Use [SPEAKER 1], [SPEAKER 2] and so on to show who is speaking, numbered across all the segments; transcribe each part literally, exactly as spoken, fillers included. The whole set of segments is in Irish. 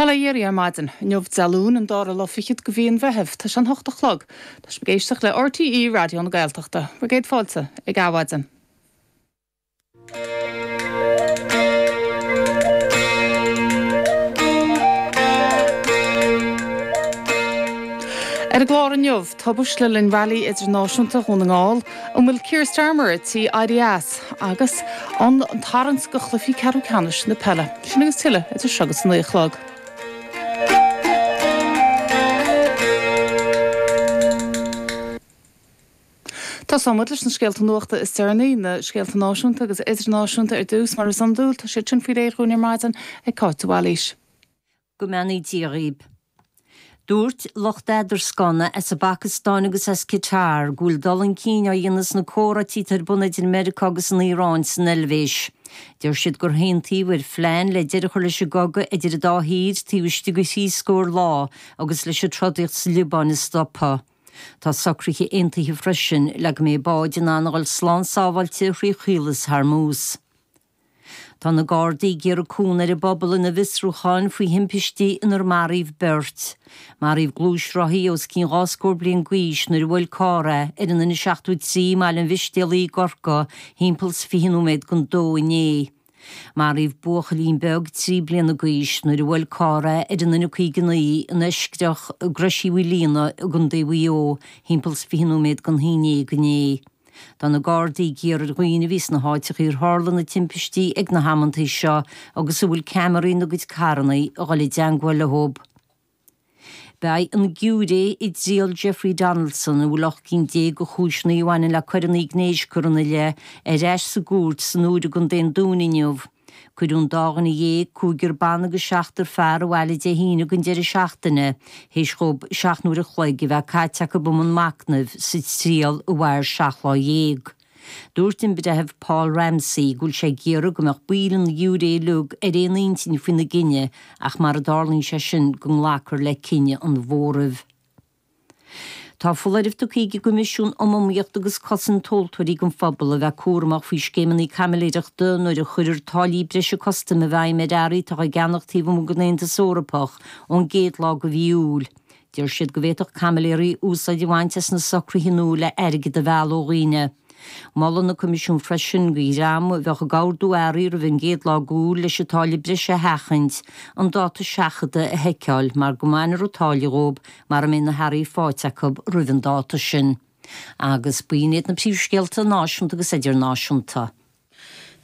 [SPEAKER 1] Bail ó Dhia oraibh ar maidin, inniu Dé Luain an dara lá fichead de mhí an Mheithimh, tá sé an hocht a chlog, Tá sibh ag éisteacht le RTÉ Raidió na Gaeltachta, Bhur gcéad fáilte ag Adhmhaidin. Ar an gclár inniu, tubaist le linn Railí Idirnáisiúnta Dhún na nGall, an bhfuil Keir Starmer ar tí éirí as, agus an tarraingt do chluichí ceathrú ceannais na peile. Sin agus tuilleadh idir seo agus a naoi a chlog. Tosóidh muid leis na scéalta nuachta is deireanaí, na scéalta náisiúnta agus idirnáisiúnta ar dtús, mar is iondúil, tá siad sin faoi réir dhúinn ar maidin ag Cáit de Bhailís.
[SPEAKER 2] Go mbeannaí Dia dhaoib. Dúirt lucht eadarscána as an bPacastáin agus as Qatar go bhfuil dul chun cinn á dhéanamh sna comhráití atá ar bun idir Meiriceá agus an Iaráin san Eilvéis. Deir siad gur aontaíodh ar phlean le deireadh a chur leis an gcogadh idir an dá thír taobh istigh de thrí scór lá agus leis an trodaíocht sa Liobáin a stopadh. Tá socruithe aontaithe freisin le go mbeidh báid in ann a dhul slán sábháilte thrí Chaolas Hormuz. Tá na Gardaí ag iarraidh cúnamh ar an bpobal ina bhfiosrúcháin faoi thimpistí inar maraíodh beirt. Maraíodh gluaisrothaí os cionn dhá scór bliain d'aois nuair a bhuail carr é ar an N seachtó a trí i mBaile an Mhistéalaigh i gCorcaigh thimpeall 's fiche nóiméad don dó inné. Maraíodh buachaillín beag trí bliana d'aois nuair a bhuail carr é ar an N caoga naoi in Eiscreach i gCrois Uí Mhaoilíona i gContae Mhaigh Eo thimpeall 's fiche nóiméad don haon déag inné. Tá na Gardaí ag iarraidh ar dhaoine a bhí sna háiteacha ar tharla na timpistí ag na hamantaí seo agus a bhfuil ceamaraí ina gcuid carranna a dhul i dteangmháil leo. Beidh an giúiré i dtriail Jeffrey Donaldson, a bhfuil ocht gcinn déag de chúiseanna a bhaineann le coireanna gnéis curtha ina leith, ar ais sa gcúirt san Iúr i gContae an Dúin inniu. Cuireadh an dá dhuine dhéag, cúigear ban agus seachtar fear, abhaile Dé hAoine don deireadh seachtaine, théis dhóibh seacht n-uair a chloig a bheith caite acu i mbun machnaimh sa triail a mhair seacht lá dhéag. Dúirt an Breitheamh Paul Ramsey go bhfuil sé ag iarraidh go mbeadh baill an ghiúiré uilig ar aon intinn faoina gcinneadh ach mara dtarlaíonn sé sin go nglacfar le cinneadh an mhóraimh. Tá foláireamh tugtha ag an gCoimisiún um Iomaíocht agus Cosaint Tomhaltóirí don phobal a bheith cúramach faoi scéimeanna caimiléireachta nuair a chuirfear táillí breise custaim i bhfeidhm ar earraí atá á gceannach taobh amuigh den Aontas Eorpach ón gcéad lá de mhí Iúil. Deir siad go bhféadfadh caimiléirí úsáid a bhaint as na socruithe nua le airgead a mhealladh ó dhaoine. Molann an Coimisiún freisin do dhream a bheadh ag ordú earraí roimh an gcéad lá d'Iúil leis an táille breise a sheachaint, an dáta seachadta a sheiceáil mar go mbainfear an táille dhóibh mara mbeidh na hearraí faighte acu roimh an dáta sin. Agus b'in iad na príomhscéalta náisiúnta agus idirnáisiúnta.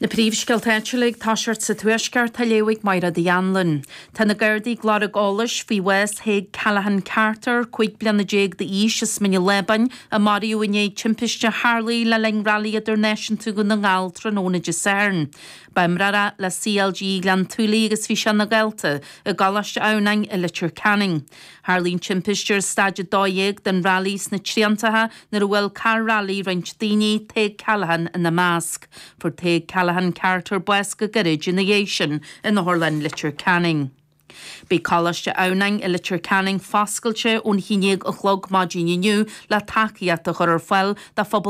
[SPEAKER 3] Na príomhscéalta áitiúla ag toiseacht sa Tuaisceart á léamh ag Máire Uí Anluain. Tá na Gardaí ag lorg eolais faoi bhás Thaidhg Callaghan Carter, cúig bliana déag d'aois as Mín an Lábáin, a maraíodh i ndiaidh timpiste a tharlaigh le linn Railí Idirnáisiúnta Dhún na nGall tráthnóna Dé Sathairn. Ba imreoir é le CLG Ghleann tSúilí agus bhí sé ina dhalta i gColáiste Adhamhnáin i Leitir Ceanainn. Tharlaigh an timpiste ar staid a dó dhéag den railí sna Triantacha nuair a bhuail carr railí roinnt daoine, Tadhg Callaghan ina measc. Fuair Tadhg Callaghan Carter bás go gairid ina dhiaidh sin in Otharlann Leitir Ceanainn. Beidh Coláiste Adhamhnáin i Leitir Ceanainn foscailte ón haon déag a chlog maidin inniu le tacaíocht a chur ar fáil do phobal